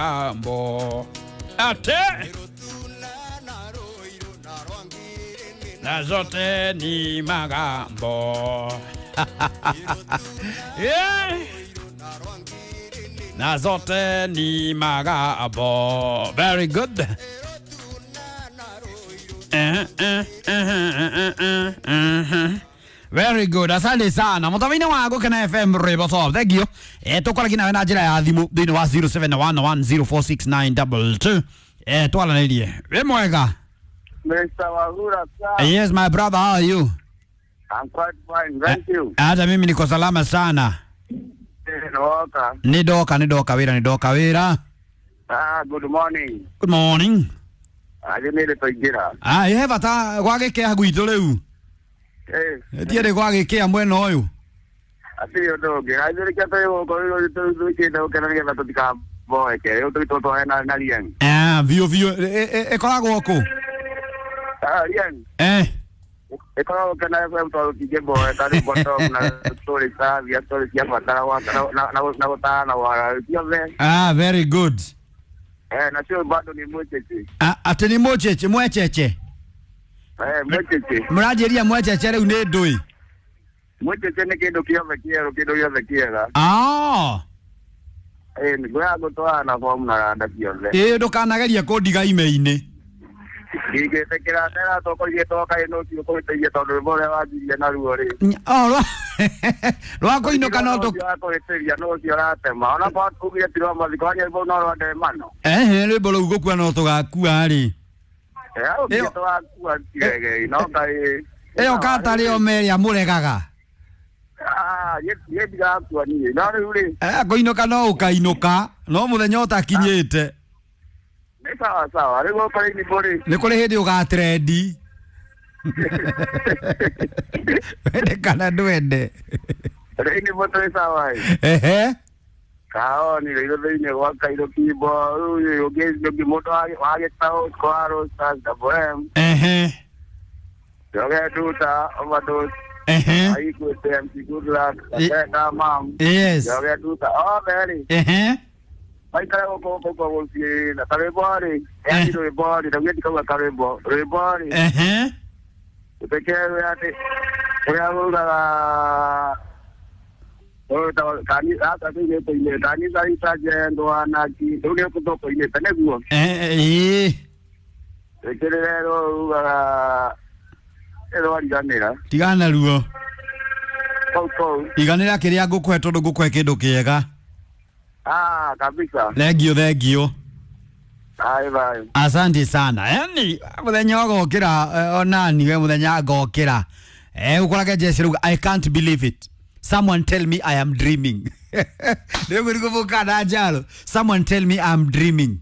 magambo ate na zote ni magambo yeah. Na zote ni magambo. Very good. Very good. Asante sana. Muthamini wa Gukena FM Rwimbo Top. Thank you. Tukwaragia nawe na njira ya thimu thĩinĩ wa 0711046922. Twaranĩrie. Wĩ mwega? Mr. Wahura, sir. Yes, my brother, how are you? I'm quite fine, thank you. Hata mimi niko salama sana. Ndoka. Nĩ ndoka, nĩ ndoka wĩra, nĩ ndoka wĩra. Ah, good morning. Good morning. Aje nĩ tũingĩra. Ah, he bata gwagĩkĩa gwitũ rĩu. Eh, Tiarĩ gwagĩkĩa mwena ũyũ. atirĩ ũndũ ũngĩ. Aithĩrĩkia tũrĩ gũkũ rĩu tũikĩte gũkena nĩgetha tũtikaboeke. Rĩu tũgĩtwo twae na Riang. Ah, biũ biũ. Ĩkoragwo kũ? Ah, Riang. Eh. Ĩkoragwo Gũkena FM tondũ tũtingĩboeka rĩu bottom na story cia story cia bata na gũtara na wara ciothe. Ah, very good. Eh, nacio bado ni mwĩtĩki. Ah, atĩ nĩ mũcheche mwecheche. Eh, mwĩtĩki. Mũranjĩria mwecheche rĩu nĩ ndũĩ. Mwĩtĩki nĩ kĩndũ kĩothe kĩerũ, kĩndũ gĩothe kĩega. Ah. Eh, nĩngũya gũtwara na bomu na randa ciothe. Ĩ ndũkanagerie kũndiga ime-inĩ. Ndingĩtĩkĩra ndera tũkũirie toka ĩno ũcio kũhĩtĩirie tondũ rwĩmbo ũrĩa wanjirie naruo rĩ. Oh, rwa kũinũka no tũ Ũcio wa kũhĩtĩria no ũcio ũratema. Ona kwa ugire ti rwa mathiko wa nyĩmbo no rwa ndemano. Ehe, rwĩmbo rũu gũkua no tũgakua rĩ. Eh, ugire tũgakua tiregei no Ngai. Ĩyo katarĩ o merĩa mũregaga. Ah, niĩ ndigakua niĩ. No rĩu rĩ, Eh, kũinũka no ũkainũka no mũthenya ũtakinyĩte. nĩ sawa sawa. Rĩu gũkũ rĩ rĩ. Nĩ kũrĩ hĩndĩ ũgatrendi. Wende kana ndwende. Rĩ nĩ tũrĩ sawa ĩ. Ehe. Kaoni rĩ thĩinĩ gwa Kairũ Kimbo rĩu ũngĩ mũndũ wa gĩtaũ kwa Rosters Double M. Ehe. Joge Duta Overdose. Ehe. Aikwete MC Good Luck, Rebecca Mam, Yes. Joge Duta, othe rĩ, Ehe. maikare gũkũ gũkũ gũciĩ na karwĩmbo rĩ, yani rwĩmbo rĩ, ndaugire ndikauga karwĩmbo, rwĩmbo rĩ, Ehe. ũteke atĩ ũrĩa rũgaga gaka tũinĩte kanitha itajendwa naki rĩu nĩ tũkũinĩte nĩguo Eh, ĩĩ. ĩkĩrĩre rũgaga ĩrwariganĩra Tigana naruo. kau kau Iganĩra kĩrĩa ngũkũhe tondũ ngũkũhe kĩndũ kĩega. ah kabisa Thengio thengio. bye bye Asante sana. Yani muthenya ũgokĩra onani we muthenya ngokĩra. Ũkorage Jesse rauga I can't believe it. Someone tell me I am dreaming. Rĩu nĩgũbũka na njaro. Someone tell me I am dreaming.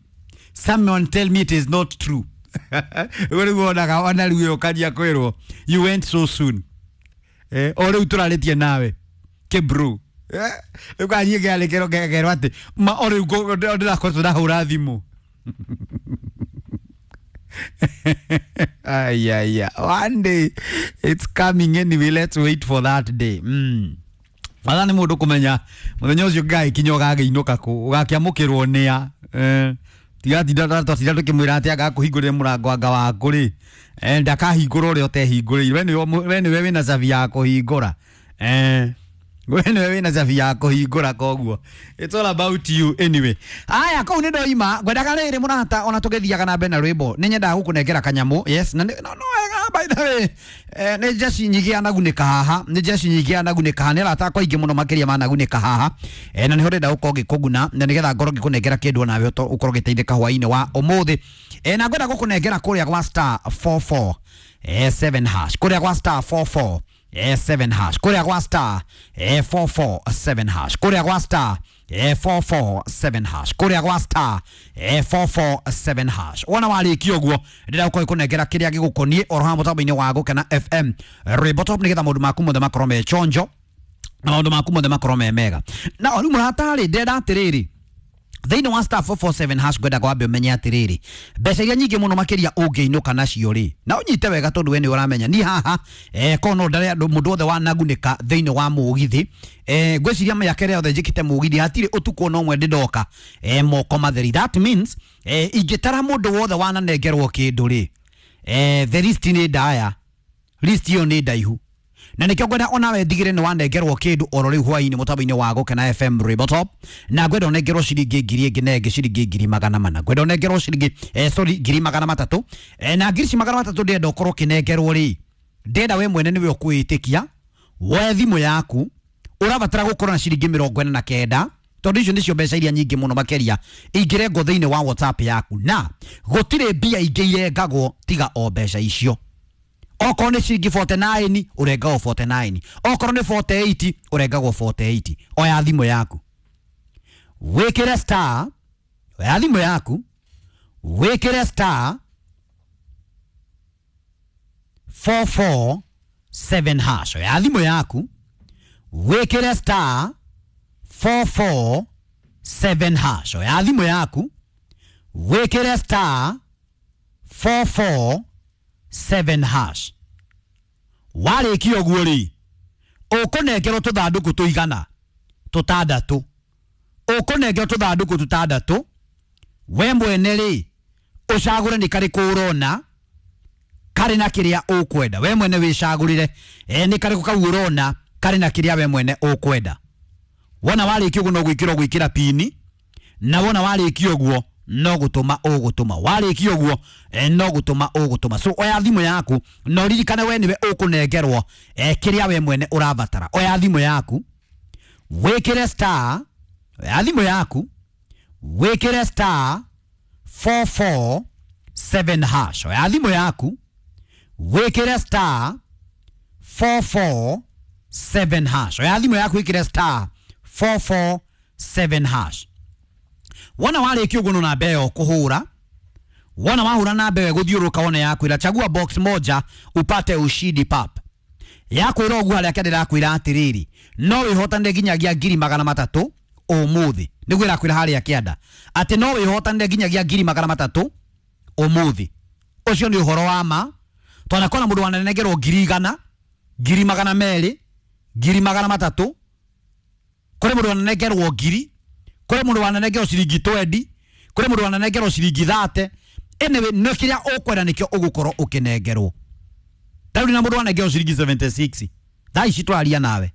Someone tell me it is not true. Rĩu nĩguo wonaga ona rĩu ũkanjia kwĩrwo you went so soon. O rĩu tũrarĩtie nawe kĩbru. Rĩu kanyie kĩarĩkĩrwo kekerwo atĩ ma o rĩu ndĩrakoretwo ndahũra thimũ. Ay, ay, ay. One day it's coming anyway. Let's wait for that day. Bata nĩ mũndũ kũmenya mũthenya ũcio ngagĩkinya ũgagĩinũka kũ ũgakĩamũkĩrwo nĩa tigatinda twatinda tũkĩmwĩra atĩ agakũhingũrĩre mũrango anga waku rĩ ndakahingũra ũrĩa ũtehingũrĩire we nĩwe wĩna cabi ya kũhingũra we nĩwe wĩna cabi ya kũhingũra koguo it's all about you anyway. Aya kũu nĩ ndoima ngwendaga rĩrĩ mũrata ona tũgĩthiaga na mbere na rwĩmbo nĩ nyendaga gũkũnengera kanyamũ yes na no no wega by the way nĩ jeshi nyingĩ anagunĩka haha nĩ jeshi nyingĩ anagunĩka haha nĩ arata akwa aingĩ mũno makĩria managunĩka haha na nĩho ndĩrenda gũkorwo ngĩkũguna na nĩgetha ngorwo ngĩkũnengera kĩndũ onawe ũkorwo ũgĩteithĩka hwaĩ-inĩ wa ũmũthĩ na ngwenda gũkũnengera kũrĩa gwa star 44 7 hash kũrĩa gwa star 44 7 hash kũrĩa gwa star 447 hash kũrĩa gwa star 447 hash kũrĩa gwa star 447 hash wona warĩkia ũguo ndĩrenda gũkorwo ngĩkũnengera kĩrĩa gĩgũkoniĩ oro haha mũtambo-inĩ wa Gũkena FM Rwĩmbo Top nĩgetha maũndũ maku mothe makorwo me chonjo na maũndũ maku mothe makorwo me mega na rĩu mũrata rĩ ndĩrenda atĩrĩrĩ Thĩinĩ wa star 447 hash ngwenda kwambe ũmenye atĩrĩrĩ, mbeca iria nyingĩ mũno makĩria ũngĩinũka nacio rĩ, na ũnyite wega tondũ we nĩ ũramenya ni haha korwo no ndare andũ mũndũ wothe wanagunĩka thĩinĩ wa mũgithi. Ngwĩciria mĩaka ĩrĩa yothe njĩkĩte mũgithi hatirĩ ũtukũ ona ũmwe ndĩndoka moko matheri. That means ingĩtara mũndũ wothe wananengerwo kĩndũ rĩ, the list nĩ ndaya, list ĩyo nĩ ndaihu, na nikio ngwenda onawe ndigire nĩ wanengerwo kĩndũ oro rĩu hwainĩ mũtambo-inĩ wa Gũkena FM Rwĩmbo Top, na ngwenda ũnengerwo ciringi ngiri ĩngĩ na ĩngĩ ciringi 400,000, ngwenda ũnengerwo ciringi sorry 300,000, na ngiri ici 300,000 ndĩrenda ũkorwo ũkĩnengerwo rĩ, ndĩrenda we mwene nĩwe ũkwĩĩtĩkia woe thimũ yaku, ũrabatara gũkorwo na ciringi 49 tondũ icio nĩcio mbeca iria nyingĩ mũno makĩria ingĩrengwo thĩinĩ wa WhatsApp yaku, na gũtirĩ mbia ingĩ irengagwo tiga o mbeca icio. Okorwo nĩ ciringi 49 ũrengagwo 49, okorwo nĩ 48 ũrengagwo 48. Oya thimũ yaku wĩkĩre star, oya thimũ yaku wĩkĩre star 447 hash, oya thimũ yaku wĩkĩre star 447 hash, oya thimũ yaku wĩkĩre star 447 hash. Warĩkia ũguo rĩ, ũkũnengerwo tũthandũkũ tũigana tũtandatũ, ũkũnengerwo tũthandũkũ tũtandatũ, we mwene rĩ ũcagũre nĩ karĩkũ ũrona karĩ na kĩrĩa ũkwenda, we mwene wĩcagũrĩre nĩ karĩkũ kau ũrona karĩ na kĩrĩa we mwene ũkwenda. Wona warĩkia ũguo no gwĩkĩra ũgwĩkĩra pini, na wona warĩkia ũguo no gũtũma ũgũtũma, warĩkia ũguo no gũtũma ũgũtũma. So oya thimũ yaku na ũririkane we nĩwe ũkũnengerwo kĩrĩa we mwene ũrabatara. Oya thimũ yaku wĩkĩre star, oya thimũ yaku wĩkĩre star 447 hash, oya thimũ yaku wĩkĩre star 447 hash, oya thimũ yaku wĩkĩre star 447 hash. Wona warĩkia ũguo no namba ĩyo kũhũra, wona wahũra namba ĩyo ĩgũthiũrũrũka wone yakwĩra chagua box moja upate ushindi pap. Yakwĩra ũguo harĩa kĩanda ĩrakwĩra atĩrĩrĩ, no wĩhotanĩre nginyagia 300,000 ũmũthĩ, nĩguo ĩrakwĩra harĩa kĩanda atĩ no wĩhotanĩre nginyagia 300,000 ũmũthĩ. Ũcio nĩ ũhoro wa ma, twanakora mũndũ wananengerwo 100,000, 200,000, 300,000, kũrĩ mũndũ wananengerwo 1,000, kũrĩ mũndũ wananengerwo ciringi 20, kũrĩ mũndũ wananengerwo ciringi 30. Anyway, nĩ kĩrĩa ũkwenda nĩkĩo ũgũkorwo ũkĩnengerwo. Ta rĩu na mũndũ wanengerwo ciringi 76 thaa ici tũraria nawe,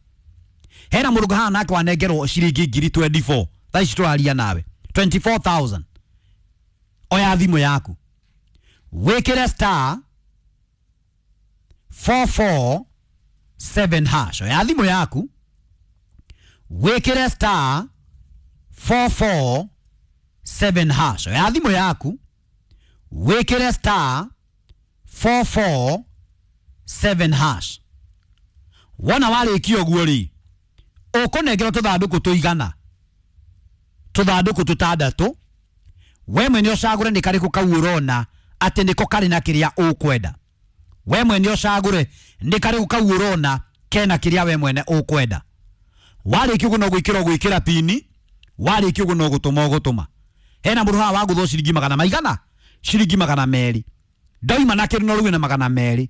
hena mũndũ haha nake wanengerwo ciringi 24,000 thaa ici tũraria nawe 24,000. Oya thimũ yaku wĩkĩre star 447 hash, oya thimũ yaku wĩkĩre star 447 hash, oya thimũ yaku wĩkĩre star 447 hash. Wona warĩkia ũguo rĩ, ũkũnengerwo tũthandũkũ tũigana tũthandũkũ tũtandatũ, we mwene ũcagũre nĩ karĩkũ kau ũrona atĩ nĩko karĩ na kĩrĩa ũkwenda, we mwene ũcagũre nĩ karĩkũ kau ũrona kena kĩrĩa we mwene ũkwenda. Warĩkia ũguo no gwĩkĩra ũgwĩkĩra pini, warĩkia ũguo no gũtũma ũgũtũma. Hena mũndũ haha wagũthwo ciringi magana maigana, ciringi 200, ndoima na kĩndũ no rĩu na 200.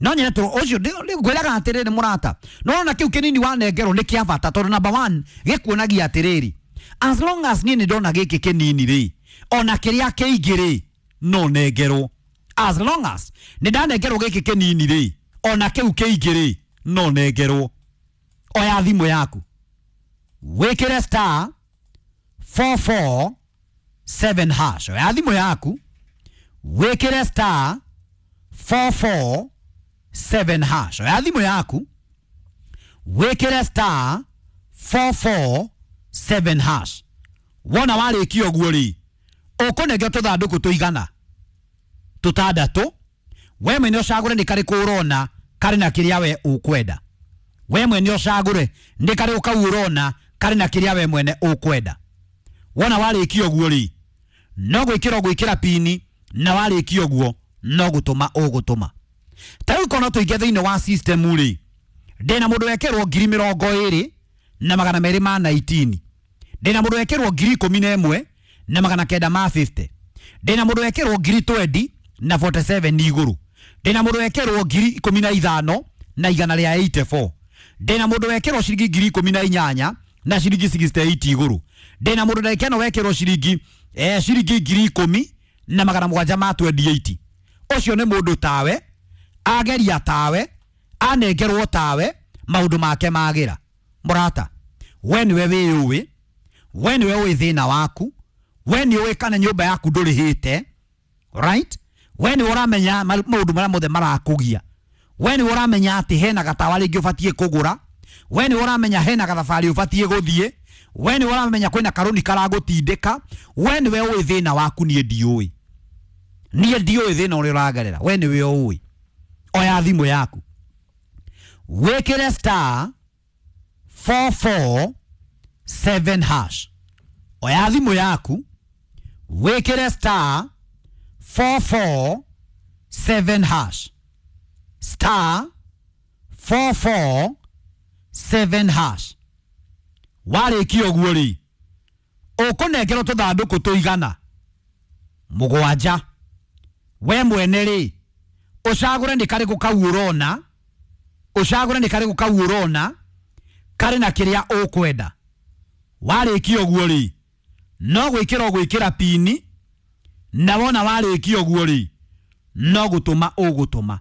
No nyene tũ ũcio ngwĩraga atĩrĩrĩ mũrata, no ona kĩu kĩnini wanengerwo nĩ kĩa bata tondũ number 1 gĩkuonagia atĩrĩrĩ, as long as niĩ nĩ ndona gĩkĩ kĩnini rĩ, ona kĩrĩa kĩingĩ rĩ no nengerwo. As long as nĩ ndanengerwo gĩkĩ kĩnini rĩ, ona kĩu kĩingĩ rĩ no nengerwo. Oya thimũ yaku wĩkĩre star 447 hash, oya thimũ yaku wĩkĩre star 447 hash, oya thimũ yaku wĩkĩre star 447 hash. Wona warĩkia ũguo rĩ, ũkũnengerwo tũthandũkũ tũigana tũtandatũ, we mwene ũcagũre nĩ karĩkũ ũrona karĩ na kĩrĩa we ũkwenda, we mwene ũcagũre nĩ karĩkũ kau ũrona karĩ na kĩrĩa we mwene ũkwenda. Wona warĩkia ũguo rĩ, no gwĩkĩra ũgwĩkĩra pini, na warĩkia ũguo no gũtũma ũgũtũma. Ta rĩu korwo no tũingĩ thĩinĩ wa system rĩ, ndĩna mũndũ wekĩrwo 22,219, Ndĩna mũndũ wekĩrwo 11,950. Ndĩna mũndũ wekĩrwo 20 na 47 igũrũ. Ndĩna mũndũ wekĩrwo 15 na 184. Ndĩna mũndũ wekĩrwo ciringi 18 na ciringi 68 igũrũ. Ndĩna mũndũ ndagĩka ĩno wekĩrwo ciringi 10,000 na 728. Ũcio nĩ mũndũ tawe, ageria tawe, anengerwo tawe, maũndũ make magĩra. Mũrata, we nĩwe wĩyũĩ, we nĩwe ũĩ thĩna waku, we nĩ ũĩ kana nyũmba yaku ndũrĩhĩte, right? We nĩwe ũramenya maũndũ marĩa mothe marakũgia. We nĩwe ũramenya atĩ hena gatawa rĩngĩ ũbatiĩ kũgũra. We nĩwe ũramenya hena gathabarĩ ũbatiĩ gũthiĩ. We nĩwe ũramenya kwĩna karũni karagũtindĩka. We nĩwe ũĩ thĩna waku, niĩ ndiũĩ. Niĩ ndiũĩ thĩna ũrĩa ũragerera, we nĩwe ũĩ. Oya thimũ yaku, wĩkĩre star 447 hash. Oya thimũ yaku, wĩkĩre star 447 hash. Star 447 hash. Warĩkia ũguo rĩ, ũkũnengerwo tũthandũkũ tũigana 7. We mwene rĩ, ũcagũre nĩ karĩkũ kau ũrona, ũcagũre nĩ karĩkũ kau ũrona karĩ na kĩrĩa ũkwenda. Warĩkia ũguo rĩ, no gwĩkĩra ũgwĩkĩra pini, na wona warĩkia ũguo rĩ, no gũtũma ũgũtũma.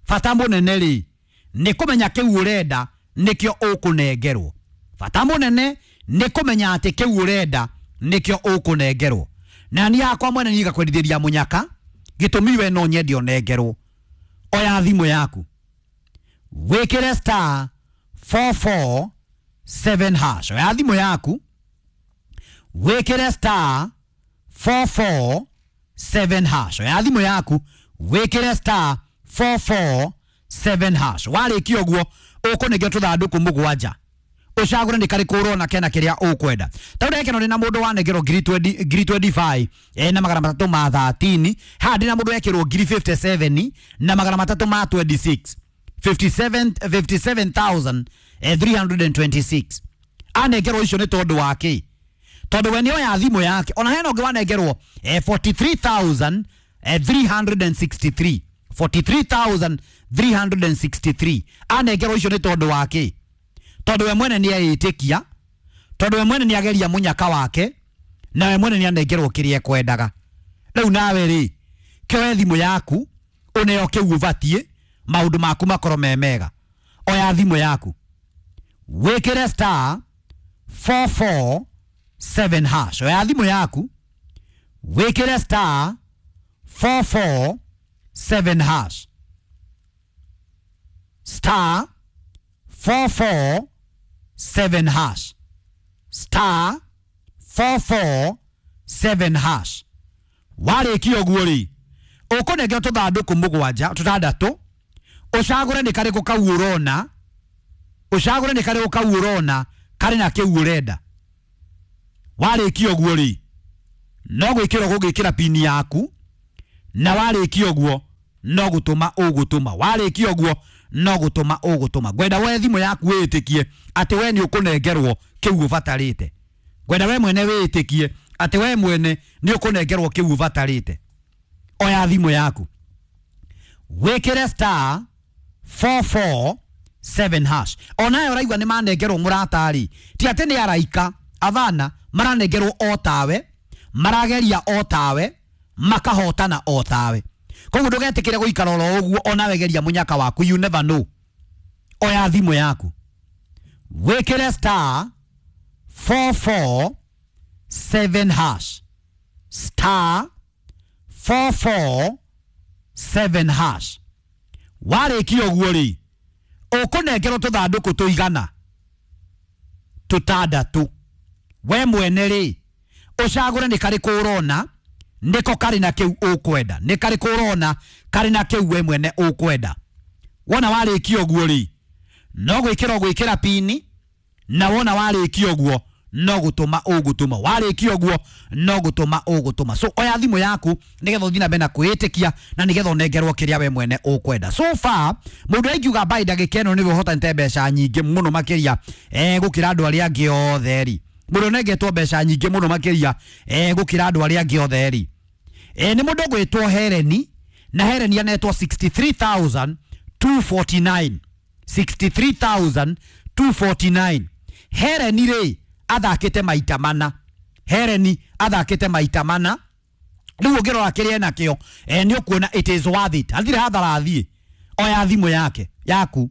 Bata mũnene rĩ, nĩ kũmenya kĩu ũrenda nĩkĩo ũkũnengerwo. Bata mũnene nĩ kũmenya atĩ kĩu ũrenda nĩkĩo ũkũnengerwo. Na niĩ hakwa mwene niĩ ngakwendithĩria mũnyaka, gĩtũmi we no nyende ũnengerwo. Oya thimũ yaku, wĩkĩre star 447 hash. Oya thimũ yaku, wĩkĩre star 447 hash. Oya thimũ yaku, wĩkĩre star 447 hash. Warĩkia ũguo, ũkũnengerwo tũthandũkũ 7. Ũcagũre nĩ karĩkũ ũrona kena kĩrĩa ũkwenda. Tondũ ndagĩka ĩno ndĩna mũndũ wanengerwo 20,025 na 313. Haha ndĩna mũndũ wekĩrwo 57 na 326. 57,326. Anengerwo icio nĩ tondũ wa kĩ? Tondũ we nĩoya thimũ yake. Ona hena ũngĩ wanengerwo 43,363. 43,363. Anengerwo icio nĩ tondũ wa kĩ? Tondũ we mwene nĩ eĩtĩkia, tondũ we mwene nĩ ageria mũnyaka wake, na we mwene nĩ anengerwo kĩrĩa ekwendaga. Rĩu nawe rĩ, kĩoe thimũ yaku, ũneo kĩu ũbatiĩ, maũndũ maku makorwo me mega. Oya thimũ yaku, wĩkĩre star 447 hash. Oya thimũ yaku, wĩkĩre star 447 hash. Star 447 hash. Star 447 hash. Warĩkia ũguo rĩ, ũkũnengerwo tũthandũkũ 7, 6, ũcagũre nĩ karĩkũ kau ũrona, ũcagũre nĩ karĩkũ kau ũrona karĩ na kĩu ũrenda. Warĩkia ũguo rĩ, no gwĩkĩra ũgũgĩkĩra pini yaku, na warĩkia ũguo no gũtũma ũgũtũma. Warĩkia ũguo no gũtũma ũgũtũma. Ngwenda we thimũ yaku wĩtĩkie atĩ we nĩ ũkũnengerwo kĩu ũbatarĩte. Ngwenda we mwene wĩtĩkie atĩ we mwene nĩ ũkũnengerwo kĩu ũbatarĩte. Oya thimũ yaku, wĩkĩre star 447 hash. Onayo ũraigua nĩ manengerwo mũrata-rĩ, ti atĩ nĩ araika avana, maranengerwo o tawe, marageria o tawe, makahotana o tawe. Koguo ndũgetĩkĩre gũikara oro ũguo, onawe geria mũnyaka waku, you never know. Oya thimũ yaku, wĩkĩre star 447 hash. Star 447 hash. Warĩkia ũguo rĩ, ũkũnengerwo tũthandũkũ tũigana 6. We mwene rĩ, ũcagũre nĩ karĩkũ ũrona nĩko karĩ na kĩu ũkwenda, nĩ karĩkũ ũrona karĩ na kĩu we mwene ũkwenda. Wona warĩkia ũguo rĩ, no gwĩkĩra ũgwĩkĩra pini, na wona warĩkia ũguo no gũtũma ũgũtũma. Warĩkia ũguo no gũtũma ũgũtũma. So oya thimũ yaku nĩgetha ũthiĩ na mbere na kwĩĩtĩkia, na nĩgetha ũnengerwo kĩrĩa we mwene ũkwenda. So far mũndũ ũrĩa ingiuga mbaĩ ndagĩka ĩno nĩwe ũhotanĩte mbeca nyingĩ mũno makĩria gũkĩra andũ arĩa angĩ othe rĩ, Mũndũ ũnengetwo mbeca nyingĩ mũno makĩria gũkĩra andũ arĩa angĩ othe rĩ, nĩ mũndũ ũgwĩtwo Hereni, na Hereni anetwo 63,249, 63,249. Hereni rĩ athakĩte maita mana, Hereni athakĩte maita mana. Rĩu ũngĩrora kĩrĩa enakĩo, nĩ ũkuona it is worth it. Hatirĩ hathara athiĩ. Oya thimũ yake yaku,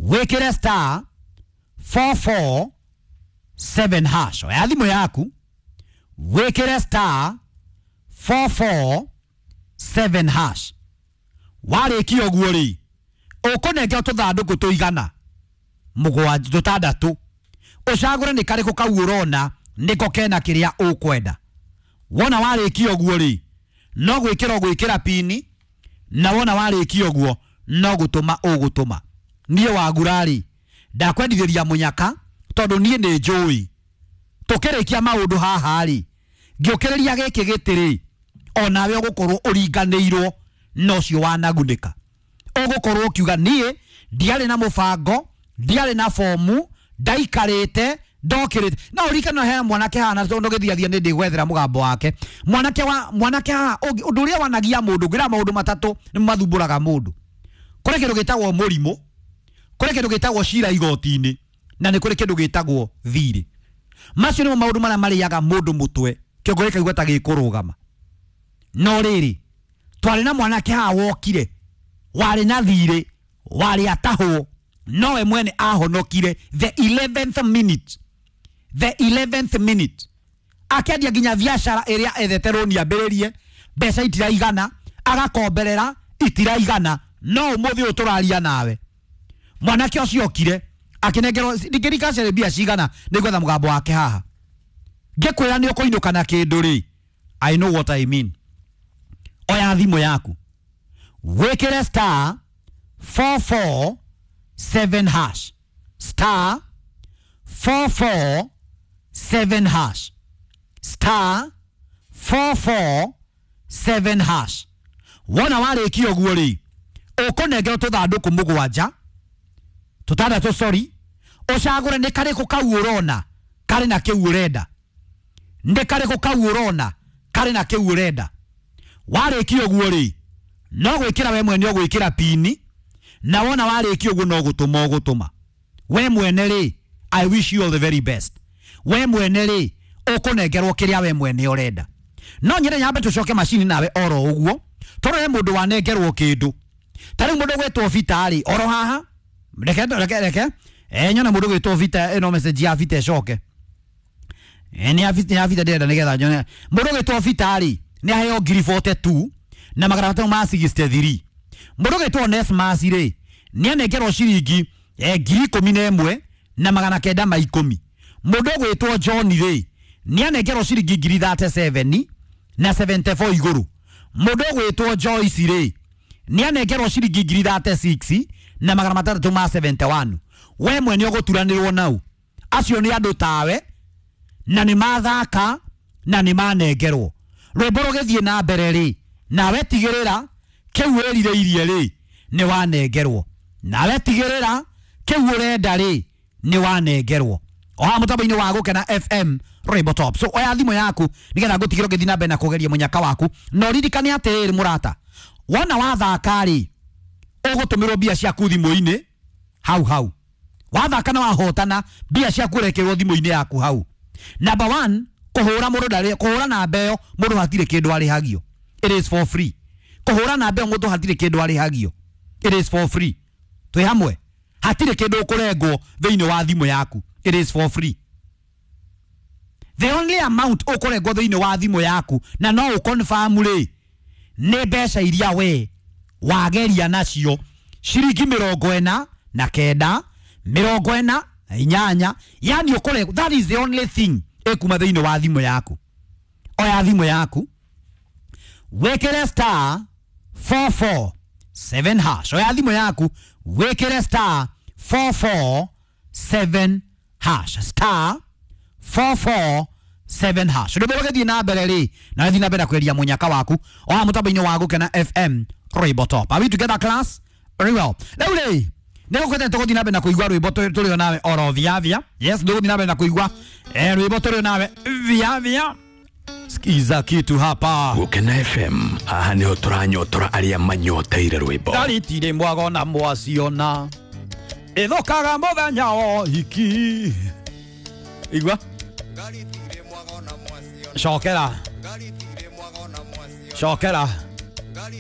wĩkĩre star 447 hash. Oya thimũ yaku, wĩkĩre star 447 hash. Warĩkia ũguo rĩ, ũkũnengera tũthandũkũ tũigana mũgwanja, tũtandatũ, ũcagũre nĩ karĩkũ kau ũrona nĩko kena kĩrĩa ũkwenda. Wona warĩkia ũguo rĩ, no gwĩkĩra ũgwĩkĩra pini, na wona warĩkia ũguo no gũtũma ũgũtũma. Niĩ wagura rĩ, ndakwendithĩria mũnyaka, tondũ niĩ nĩ njũĩ tũkĩrĩkia maũndũ haha rĩ, ngĩũkĩrĩria gĩkĩ gĩtĩ rĩ, onawe ũgũkorwo ũringanĩirwo na ũcio wanagunĩka. Ũgũkorwo ũkiuga niĩ ndiarĩ na mũbango, ndiarĩ na bomu, ndaikarĩte ndokĩrĩte. No ũririkane he mwanake haha, na tondũ gĩthiathia nĩ ndĩgwethera mũgambo wake. Mwanake wa mwanake haha, ũndũ ũrĩa wanagia mũndũ, ngĩra maũndũ matatũ nĩ mathumbũraga mũndũ. Kũrĩ kĩndũ gĩtagwo mũrimũ, kũrĩ kĩndũ gĩtagwo cira igoti-inĩ, na nĩ kũrĩ kĩndũ gĩtagwo thirĩ. Macio nĩmo maũndũ marĩa marĩaga mũndũ mũtwe, kĩongo gĩkaigua ta gĩkũrũgama. No rĩrĩ, twarĩ na mwanake haha wokire, warĩ na thirĩ, warĩ atahwo, nowe mwene ahonokire the 11th minute, the 11th minute. Akĩendia nginya biacara ĩrĩa ethete rũni ambĩrĩrie, mbeca itiraigana, agakomberera itiraigana, no ũmũthĩ ũyũ tũraria nawe mwanake ũcio okire akĩnengerwo ndingĩrika mbia cigana, nĩngwetha mũgambo wake haha ngĩkwĩra nĩ ũkũinũka na kĩndũ rĩ, I know what I mean. Oya thimũ yaku, wĩkĩre star 447 hash, star 447 hash, star 447 hash. Wona warĩkia ũguo rĩ, ũkũnengerwo tũthandũkũ mũgwanja, tũtandatũ, sorry, ũcagũre nĩ karĩkũ kau ũrona karĩ na kĩu ũrenda, nĩ karĩkũ kau ũrona karĩ na kĩu ũrenda. Warĩkia ũguo rĩ, no gwĩkĩra we mwene ũgwĩkĩra pini, na wona warĩkia ũguo no gũtũma ũgũtũma. We mwene rĩ, I wish you all the very best. We mwene rĩ, ũkũnengerwo kĩrĩa we mwene ũrenda. No nyende nyambe tũcoke macini nawe oro ũguo, tondũ he mũndũ wanengerwo kĩndũ. Ta rĩu mũndũ ũgwĩtwo Vita rĩ, oro haha, reke reke reke, nyone mũndũ ũgwĩtwo Vita, ĩno message ya Vita ĩcoke. Nĩ ya Vita, nĩ ya Vita ndĩrenda nĩgetha nyone. Mũndũ ũgwĩtwo Vita rĩ, nĩ aheo ngiri 42 na magana matano ma 63. Mũndũ ũgwĩtwo Onesmus rĩ, nĩ anengerwo ciringi ngiri ikũmi na ĩmwe na magana kenda ma ikũmi. Mũndũ ũgwĩtwo John rĩ, nĩ anengerwo ciringi ngiri 37 na 74 igũrũ. Mũndũ ũgwĩtwo Joyce rĩ, nĩ anengerwo ciringi ngiri 36 na magana matandatũ ma 71. We mwene ũgũturanĩrwo nau. Acio nĩ andũ tawe, na nĩ mathaka na nĩ manengerwo. Rwĩmbo rũgĩthiĩ na mbere rĩ, nawe tigĩrĩra kĩu wĩrirĩirie rĩ, nĩ wanengerwo. Nawe tigĩrĩra kĩu ũrenda rĩ, nĩ wanengerwo. O haha mũtambo-inĩ wa Gũkena FM Rainbow Top. So oya thimũ yaku nĩgetha ngũtigĩre ũgĩthiĩ na mbere na kũgeria mũnyaka waku. Na ũririkane atĩrĩrĩ mũrata, wona wathaka rĩ, ũgũtũmĩrwo mbia ciaku thimũ-inĩ hau hau. Wathaka na wahotana, mbia ciaku ũrekĩrwo thimũ-inĩ yaku hau. Number 1, kũhũra mũndũ ndarĩ, kũhũra namba ĩyo mũndũ hatirĩ kĩndũ arĩhagio. It is for free. Kũhũra namba ĩyo mũndũ hatirĩ kĩndũ arĩhagio. It is for free. Twĩ hamwe, hatirĩ kĩndũ ũkũrengwo thĩinĩ wa thimũ yaku. It is for free. The only amount ũkũrengwo thĩinĩ wa thimũ yaku na no ũconfirm rĩ, nĩ mbeca iria we wageria nacio, ciringi 49, 48, yani ũkũrengwo. That is the only thing ĩkuma thĩinĩ wa thimũ yaku. Oya thimũ yaku, wĩkĩre star 447 hash. Oya thimũ yaku, wĩkĩre star 447 hash, star 447 hash. Rwĩmbo rũgĩthiĩ na mbere rĩ, na rũthiĩ na mbere na kweria mũnyaka waku o haha mũtambo-inĩ wa Gũkena FM Rainbow Top. Are we together, class? Very well. Rĩu rĩ, Nä gå kwete tå gå thiä na mbere na kå igua rwä mbo tå rä o nawe oro thiathia. Yes, tå gå thiä na mbere na kå igua rwä mbo tå rä o nawe thiathia. Skiza kitu hapa. Gukena FM, haha niho turanyotora aria manyoteire rwimbo. Ndaritirĩ mwago na mwaciona ĩthũkaga mũthenya wa hiki. Igua cokera cokera.